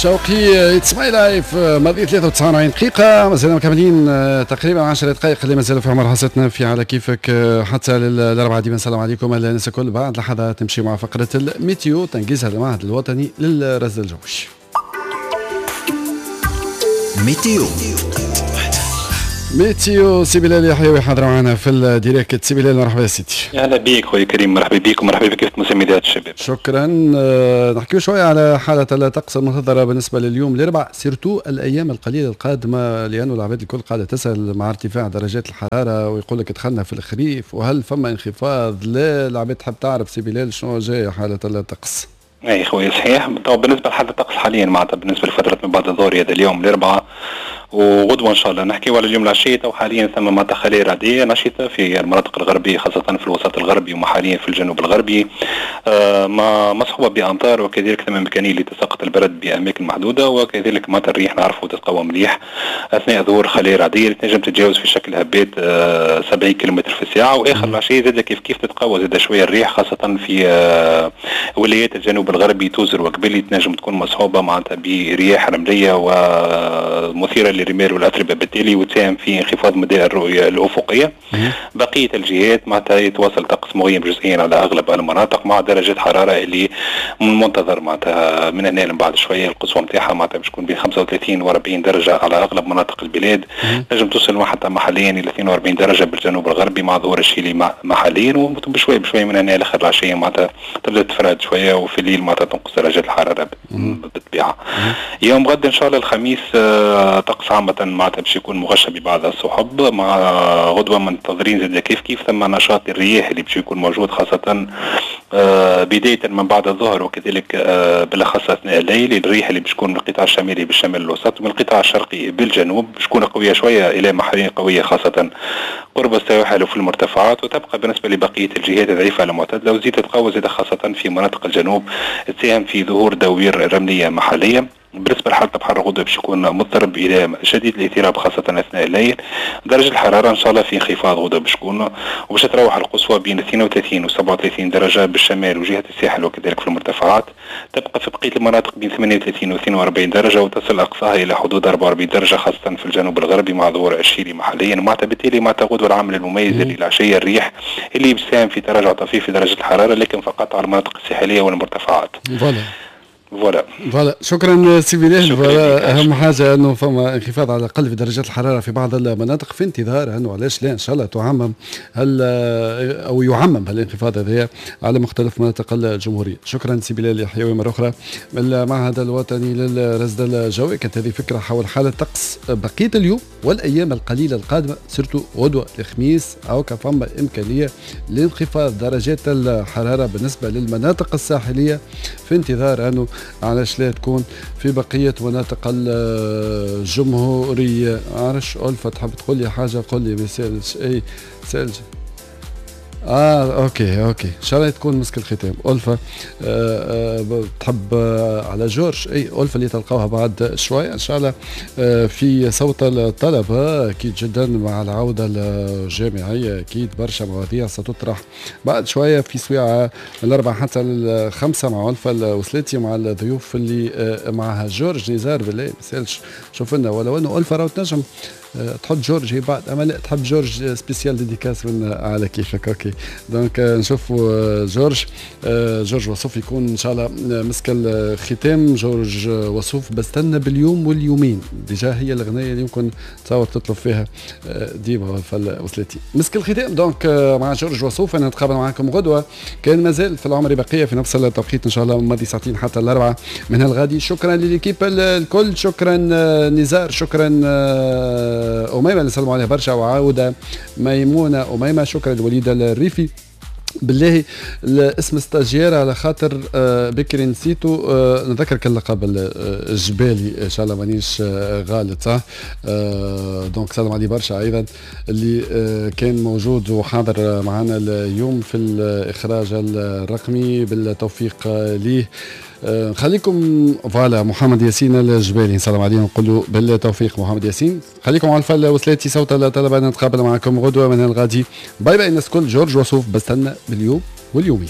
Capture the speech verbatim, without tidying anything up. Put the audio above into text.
شوقي it's my life. ماضي ثلاثة وتسعين دقيقة، مازلنا مكملين تقريبا عشر دقائق اللي مازالوا في عمر حصتنا في على كيفك حتى للأربعة. ديما نسلم عليكم الناس الكل. بعد لحظات نمشي مع فقرة ال météo تنقيزها المعهد الوطني للرصد الجوي. météo météo سي بلال يحيوي حاضر معنا في ال direct. سي بلال مرحبا يا سيدي. اهلا بك خويا كريم، مرحبا بك ومرحبا بك في مسميات الشباب. شكرا. نحكيو شوية على حاله الطقس المنتظره بالنسبة لليوم الاربعاء، surtout الايام القليلة القادمة، لانه العباد الكل قاعدة تسال مع ارتفاع درجات الحرارة ويقول لك دخلنا في الخريف وهل فما انخفاض؟ لا، العباد تحب تعرف سي بلال شنو جاي حاله الطقس. اي خويا صحيح. بالنسبة لحاله الطقس حاليا معناتها بالنسبة لفترة من بعد الظهر هذا اليوم الاربعاء وغدوه ان شاء الله، نحكيو على اليوم العشية، تو حاليا ثم معناتها خلايا رعديه نشطة في المناطق الغربية خاصة في الوسط الغربي وحاليا في الجنوب الغربي، آه ما مصحوبه بامطار وكذلك ثم امكانية لتساقط البرد باماكن محدودة، وكذلك معناتها الريح نعرفوا تتقوى مليح اثناء ظهور خلايا رعديه اللي تنجم تتجاوز في شكل هبات آه سبعين كيلومتر في الساعة. واخر العشية زاد كيف كيف تتقوى زاد شوية الريح خاصة في آه ولايات الجنوب الغربي توزر وقبلي، تنجم تكون مصحوبه معناتها برياح رمليه ومثيره للرمال والاتربه بالتالي وتساهم في انخفاض مدى الرؤية الافقية. بقية الجهات معناتها يتواصل طقس مغيم جزئيا على اغلب المناطق مع درجات حرارة اللي من المنتظر معناتها من هنا بعد شوية القصوى نتاعها معناتها باش تكون بين خمسة وثلاثين و أربعين درجه على اغلب مناطق البلاد، تنجم توصل حتى محليا الى اثنين وأربعين درجه بالجنوب الغربي مع ظهور الشيلي محليا، وبشوي بشوي من هنا لاخر العشية معناتها تبدا تفرد شوية، وفي الليل معناتها تنقص درجات الحرارة بالطبيعة. يوم غد ان شاء الله الخميس طقس عامة معناتها باش يكون مغشى ببعض السحب، مع غدوة منتظرين زاد كيف كيف ثم نشاط الرياح اللي باش يكون موجود خاصة بداية من بعد الظهر وكذلك بالأخص أثناء الليل. الريح اللي باش تكون من القطاع الشمالي بالشمال الوسط ومن القطاع الشرقي بالجنوب باش تكون قوية شوية إلى محليا قوية خاصة قرب السواحل وفي المرتفعات، وتبقى بالنسبة لبقية الجهات ضعيفة المعتدلة وزيد تتقوى زاد خاصة في مناطق الجنوب تساهم في ظهور دوير رملية محلية. بالنسبة لحالة البحر غدوة باش يكون مضطرب إلى شديد الاضطراب خاصة أثناء الليل. درجة الحرارة إن شاء الله في انخفاض غدوة باش تكون، وباش تروح القصوى بين اثنين وثلاثين و سبعة وثلاثين درجة بالشمال وجهة الساحل وكذلك في المرتفعات. تبقى في بقية المناطق بين ثمانية وثلاثين و اثنين وأربعين درجة وتصل أقصاها إلى حدود أربعة وأربعين درجة خاصة في الجنوب الغربي مع ظهور الشيلي محليا. معناتها بالتالي معناتها غدوة العامل المميز اللي العشية الريح اللي بيساهم في تراجع طفيف في درجة الحرارة، لكن فقط على المناطق الساحلية والمرتفعات. voilà voilà voilà. شكرا سي بلال. voilà اهم حاجة انه فما انخفاض على الاقل في درجات الحرارة في بعض المناطق، في انتظار انه علاش لا ان شاء الله تعمم هل او يعمم هالانخفاض هذا على مختلف مناطق الجمهورية. شكرا سي بلال يحيوي مرة اخرى من المعهد الوطني للرصد الجوي. كانت هذه فكرة حول حاله طقس بقية اليوم والايام القليلة القادمة، surtout غدوه الخميس او فما امكانية لانخفاض درجات الحرارة بالنسبة للمناطق الساحلية، في انتظار انه علاش لا تكون في بقية مناطق الجمهورية. عرش ألفة تحب تقول لي حاجة؟ قول لي ما يسالش. أي سالش. اه OK OK ان شاء الله تكون مسك الختام. ألفة آه آه تحب آه على جورج؟ اي ألفة اللي تلقاوها بعد شوية ان شاء الله آه في صوت الطلبة، اكيد جدا مع العودة الجامعية اكيد برشا مواضيع ستطرح بعد شوية في سويعة من الأربعة حتى الخمسة مع ألفة الوسلاتي مع الضيوف اللي آه معها جورج نزار. بالله ما يسالش شوف لنا، ولو انه ألفة راهو تنجم تحط جورج هي بعد، اما لا تحب جورج spécial dédicace من على كيفك. OK donc نشوفوا جورج جورج وصوف يكون ان شاء الله مسك الختام. جورج وصوف بستنى باليوم واليومين، déjà هي الاغنية اللي يمكن تصور تطلب فيها ديما وصلتي مسك الختام. donc مع جورج وصوف انا نتقابل معكم غدوه كان مازال في العمر بقية في نفس التوقيت ان شاء الله ماضي ساعتين حتى الاربعة من الغادي. شكرا ل l'équipe الكل، شكرا نزار، شكرا أميمة نسلموا عليها برشا، وعودة ميمونة أميمة، شكرا لوليد الريفي. بالله الاسم stagiaire على خاطر بكري نسيتو، نذكرك اللقب الجبالي ان شاء الله مانيش غالط صح. donc سلام عليه برشا ايضا اللي كان موجود وحاضر معنا اليوم في الاخراج الرقمي، بالتوفيق ليه. نخليكم voilà محمد ياسين الجبالي نسلم عليه ونقول له بالتوفيق محمد ياسين. خليكم على الفل وسلاتي صوت الطلبة، نتقابل معكم غدوه من الغادي. bye bye الناس الكل. جورج وصوف بستنى باليوم واليومين.